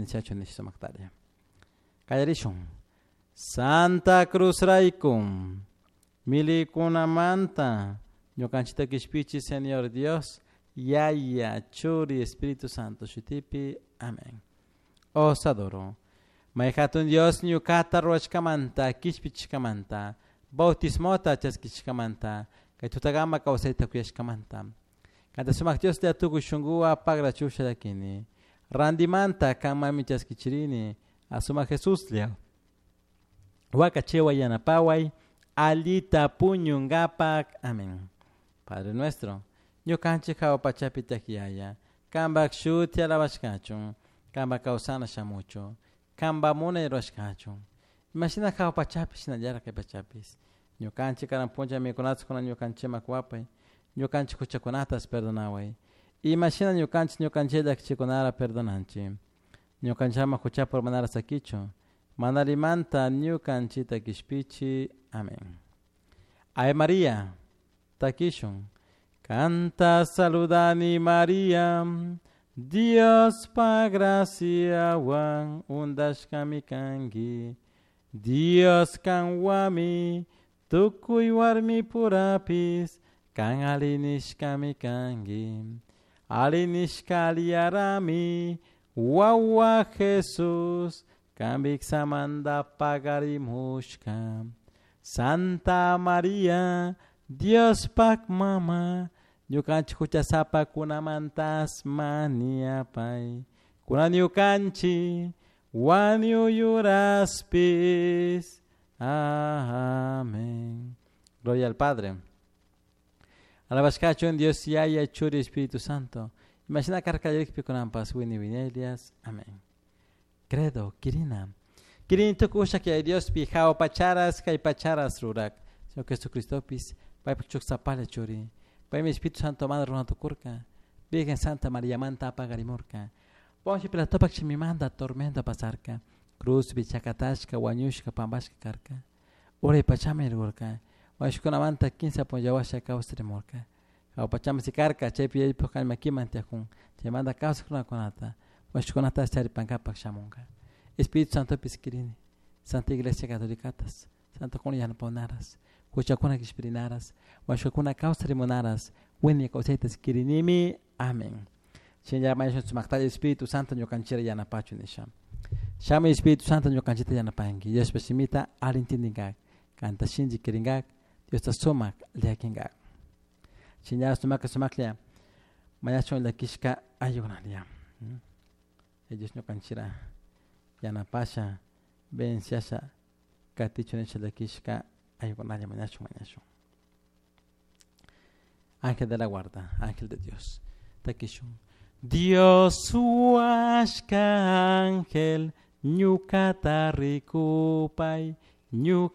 Chachu nisha sumaktalla. Qallarishun. Santa Cruz raykum milikunamanta ñukanchikta kishpichi Señor Dios Yaya Churi Espíritu Santo shutipi. Amén. Os adoro. May hatun Dios ñukata ruwashkamanta kishpichishkamanta bautismota chaskishkamanta kay tutakama kawsayta kuyashkamanta. Kanta sumak Dios te tukuy shunkuwan pagrachusha llakini. Randimanta kanmanmi chaskichirini asumak Jesuslla. Wakachiway yanapaway allita puñunkapak. Amén. Padre nuestro, ñukanchik hawa pachapi tiyak Yaya, kanpak shuti alabashkachun, kanpak kawsana shamuchun, kanpak munay rurashkachun. Imashina hawa pachapi shinallatak kay pachapis. Ñukanchik karan punlla mikunata kunan ñukanchikman kuwapay, ñukanchik huchakunatas perdonaway. Imashina ñukanchik ñukanchik llakichikunara perdonanchik. Ñukanchikman huchapi urmanara sakichun, manalimanta ñukanchikta kishpichi. Amén. Ave María, takishun. Kanta saludani María, Diospa graciawan undashkami kanki. Dios kanwami, tukuy warmi purapis, kan alli nishkami kanki. Alli nishka alliyarami, wawa Jesús, kan viksamanta pagarimushka. Santa María, Diospak mama, ñukanchik huchasapakunamantas mañapay. Kunan ñukanchik wañuyuraspis. Amén. Gloria al Padre. Alabashkachun Dios Yaya Churi Espíritu Santo. Imashina karka kunanpas wini winelias. Amén. Credo, Kirina. Kirini tukuy ushak Yaya Diospi hawa pacharas kay pacharas rurak. Señor Jesucristopis paypak chuksapalla churi. Paymi Espíritu Santo manta runa tukurka. Virgen Santa Mariamanta pagarimurka. Poncio Pilatopak shimimanta tormento pasarka. Cruzpi chakatashka wañushka pampashka karka. Uray pachaman rirkurka. Wañushkunamanta kinsa punlla washa kawsarimurka. Hawa pachaman sikarka chaypi yaypuk kallmakiman tiyakun. Chaymanta kawsak runakunata wañushkunatash charipankapak shamunka. Espíritu Santopis kirini. Santa Iglesia Catolicatas. Santokuna yanapawnaras. Huchakuna kishpirinaras. Wañushkakuna kawsarimunaras. Wiñay kawsaytas kirinimi. Amén. Shinalla mañashun sumaktalla Espíritu Santo ñukanchikta yanapachun nisha. Shamuy Espíritu Santo ñukanchikta yanapanki. Diospa shimita alli intindinkak. Kanta shinchi kirinkak. Diosta sumak llakinkak. Shinalla sumaka sumaklla mañashun llakishka ayukunalla. Dios ñukanchikta yanapasha venciasha katichun nisha llakishka ayukunalla mañashun mañashun. Ángel de la guarda, ángel de Dios. Takishun. Dios huashka ángel, ñukata rikupay, ñuka